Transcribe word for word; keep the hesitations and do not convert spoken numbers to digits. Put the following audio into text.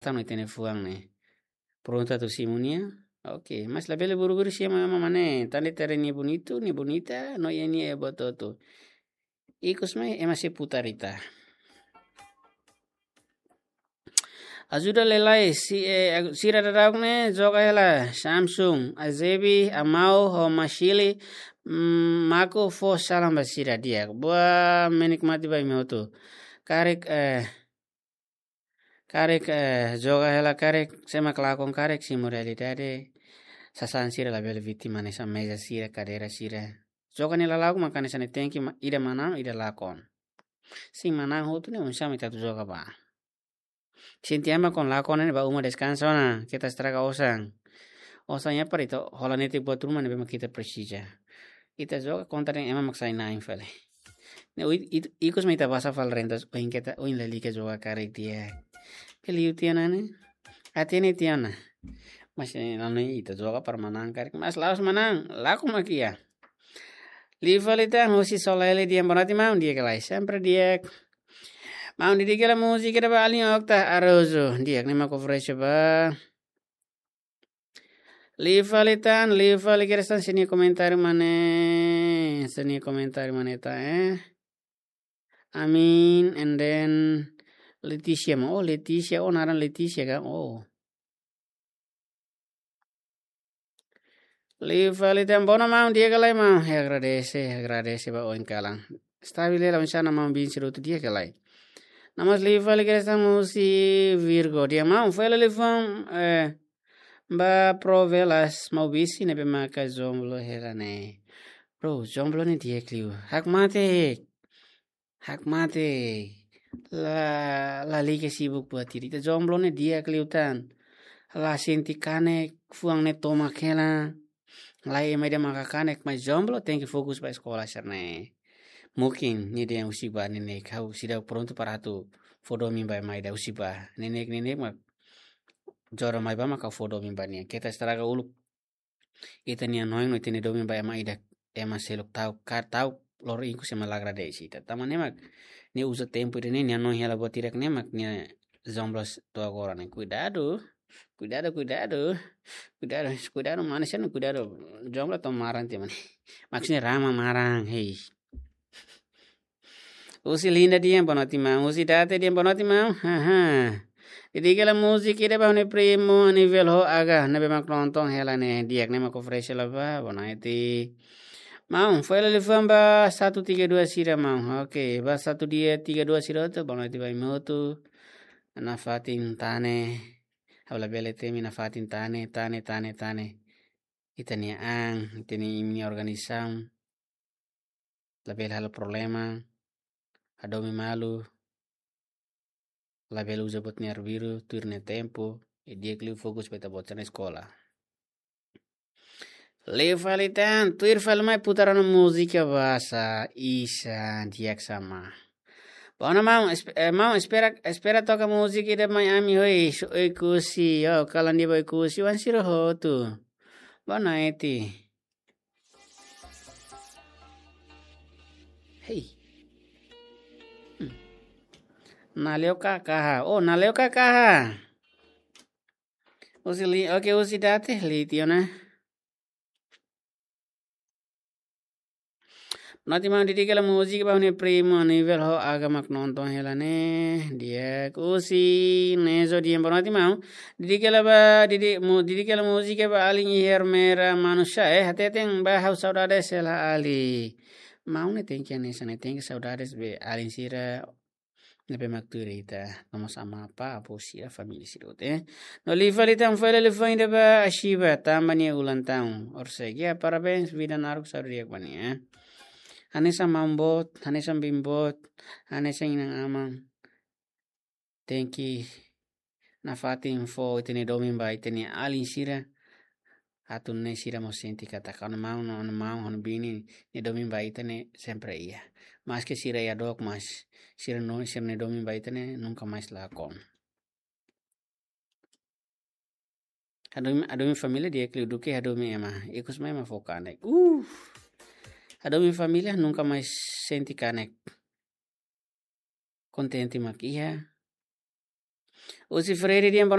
Tan no ita-nia fuan ne'e. Prontu atu simu nia. Oke, mas labele buru-buru simu ema mane. Tan de'it haree nia bonitu, nia bonita, no iha nia buat hotu. Ikus mai ema sei putar ita. Ajuda lai-lai, si, eh, ag-, sira daudaun ne'e joga hela, Samsung, Azebi, Amau, ho Mashili, mm, Mako fó salam ba sira di'ak. Buat menikmati ba imi hotu. Karik, eh, karik, eh, joga hela karik, sé mak lakon karik, simu realidade, sasán sira labele vítima hanesan meza sira, kadeira sira. Joga nia lala'ok mak hanesan ne'e tenke ma-, ida manán, ida lakon. Sin manán hotu ne'e oinsá mak ita atu joga ba. Sente ema kon lakon ne'e ba uma deskansa ona, keta estraga osan. Osan ya para ita hola netik buat ruma ne'ebé mak ita presiza. Ita joga kontra dehan ema mak sai na'in fali. Ne'e ui-, it-, ikus mai ita basa fali rentas, ohin keta, ohin lalika joga karik di'ak. Peliu tiha ona ne'e. Ati ne'e tiha ona. Mas, eh, nano ita joga para manán karik. Mas la'ós manán, lakon mak iha. Liu fali tan, husi Solele di'ak, boa noite maun, di'ak ka lae, sempre di'ak. Maun, dedika hela múzika ida ba alin Okta Araújo, di'ak, ne'e mak oferese ba. Liu fali tan, liu fali kedas tan, sira-nia komentáriu mak ne'e, sira-nia komentáriu mak ne'e tan, eh. Amin, and then Leticia, maun, oh, Leticia, oh, naran Leticia ka, oh. Liu fali tan, boa noite maun, di'ak ka lae maun. Eh, agradese, agradese ba oin kalan. Stabil hela, oinsá mak maun bin sira hotu, di'ak ka lae. No mós liu fali kedas tan husi Virgo, di'ak maun, fó hela liafuan, eh, ba Pro Velas, Maubisse ne'ebé maka jomblo hela ne'e. Bro, jomblo ne'e di'ak liu. Hakmatek. Hakmatek. La, lalika sibuk buat ida. Ita jomblo ne'e di'ak liután. La sente kanek, fuan ne'e tomak hela. Lae, ema ida maka kanek, mas jomblo tenke fokus ba eskola sira-ne'e. Mungkin nia dehan husi bá neineik, ha'u seidauk prontu para atu fó domin ba ema ida, husi bá neineik, neineik mak jodoh mai bá mak ha'u fó domin ba nia. Keta estraga uluk ita-nia hanoin no ita-nia domin ba ema ida, ema seluk ta'uk, ka ta'uk loro ikus ema la agradese ita. Tanba ne'e mak nia uza tempu ida-ne'e, nia hanoin hela buat hirak-ne'e mak nia jomblo to'o agora ne'e. Kuidadu, kuidadu, kuidadu, kuidadu, kuidadu, maun, sira-ne'e kuidadu. Jomblo to'o maran tiha mak ne'e. Maksudnya rama maran, hei. Husi Linda di'ak, boa noite maun. Husi Date di'ak, boa noite maun. Haha. Dedika hela múzika ida ba ha'u-nia primu Anivel ho Aga, ne'ebé mak nonton hela ne'e, di'ak, ne'e mak oferese hela ba, boa noite. Maun, fó hela liafuan ba satu tiga dua sira maun. Oke, ba satu tiga dua sira hotu, boa noite ba imi hotu. Nafatin tan ne'e, ha'u labele temi nafatin tan ne'e, tan ne'e, tan ne'e, tan ne'e. Ita-nia an, ita-nia imi-nia organizasaun. Labele halo problema, hadomi malu, labele uza buat nia arbiru, tuir nia tempu, i di'ak liu fokus ba ita-boot sira-nia eskola. Liu fali tan, tuir fali mai putar ona múzika basa, isa, di'ak sama. Bona maun, esp-, eh, maun, espera, espera toka múzika ida mai ami hoi, so Oekusi, yo, kalan di'ak ba Oekusi, oan sira hotu. Boa noite. Hei. Hmm. Nale'u ka kaha. Oh, nale'u ka kaha. Husi Li-, oke, husi Date, Litiona. Boa noite maun, dedika hela múzika ba ha'u-nia primu Anivel ho Aga mak nonton hela ne'e. Di'ak, husi Nezo di'ak, boa noite maun. Dedika hela ba, didi-, mu-, dedika hela múzika ba alin iha Ermera Manusia, eh, hateten ba ha'u saudades hela alin. Maun ne'e tenke hanesan ne'e, tenke saudades be alin sira ne'ebé mak tuir ita, no mós amá, apá, avó sira, família sira hotu, eh. No liu fali tan, fó hela liafuan ida ba Ashiba, tanba nia ulang tahun. Orsek, ya, parabéns, vida naruk, saúde di'ak ba nia, eh. Hanesan maun boot, hanesan biin boot, hanesan inan-aman. Tenke nafatin fó ita-nia domin ba ita-nia alin sira. Atu nune'e sira mós sente katak ha'u-nia maun no, ha'u-nia maun, ha'u-nia biin nia domin ba ita ne'e sempre iha. Maske sira iha dook, mas sira no, sira-nia domin ba ita ne'e nunka mais lakon. Hadomi, hadomi família di'ak liu duké hadomi ema. Ikus mai ema fó kanek. Uh! Hadomi família nunka mais sente kanek. Kontente mak iha. Husi Freire nian